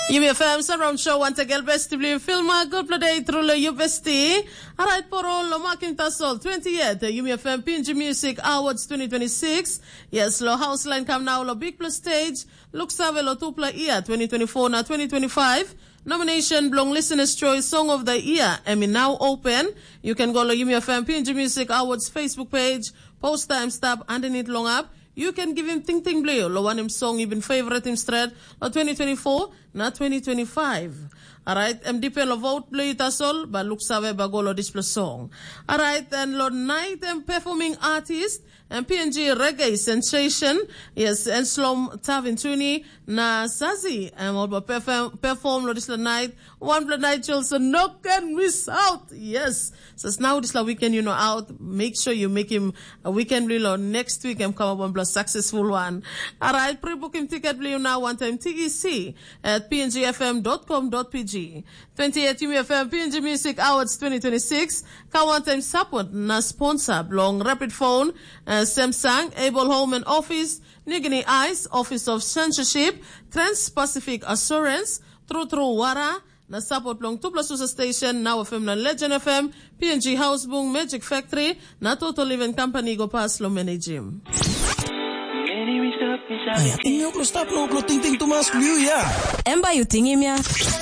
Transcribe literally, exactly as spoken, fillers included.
Yumi F M Surround Show once again, besti bli filma, good play day through lo you besti. Alright, poro lo makim tasol twenty-eight, Yumi F M Pinji Music Awards twenty twenty-six. Yes, lo house line kam now lo big plus stage. Look save lo tupla year twenty twenty-four na twenty twenty-five. Nomination belong Listener's Choice Song of the Year, Emmy now open. You can go lo Yumi F M Pinji Music Awards Facebook page, post time stop underneath long up. You can give him ting ting blue, lo one him song you been favorite him straight, lo twenty twenty-four, na twenty twenty-five. Alright, em depend lo vote blue tasol, but look save ba go lo display song. Alright, and lo night em performing artist, em P N G reggae sensation, yes, and Slom Tavin Tuni, na Sazi, em all ba perform, perform lo display night, one play night chill, so no can miss out, yes. So now this la weekend you know out, make sure you make him a weekend blue lo next week em come up one plus successful one. Alright, pre-book him ticket blue now one time T E C at P N G F M dot com dot P G. twenty-eight Yumi F M P N G Music Awards twenty twenty-six, ka one time support na sponsor belong Rapid Phone, uh, Samsung, Able Home and Office, New Guinea Ice, Office of Censorship, Trans-Pacific Assurance, True True Wara, na support long tupla susa station, Now F M na Legend F M, P N G House Bung, Magic Factory, na Total Living Company go pas lo managim. Ai, ating yuk lo stap lo, lo ting ting tumas liu ya. Em ba yu tingim ya.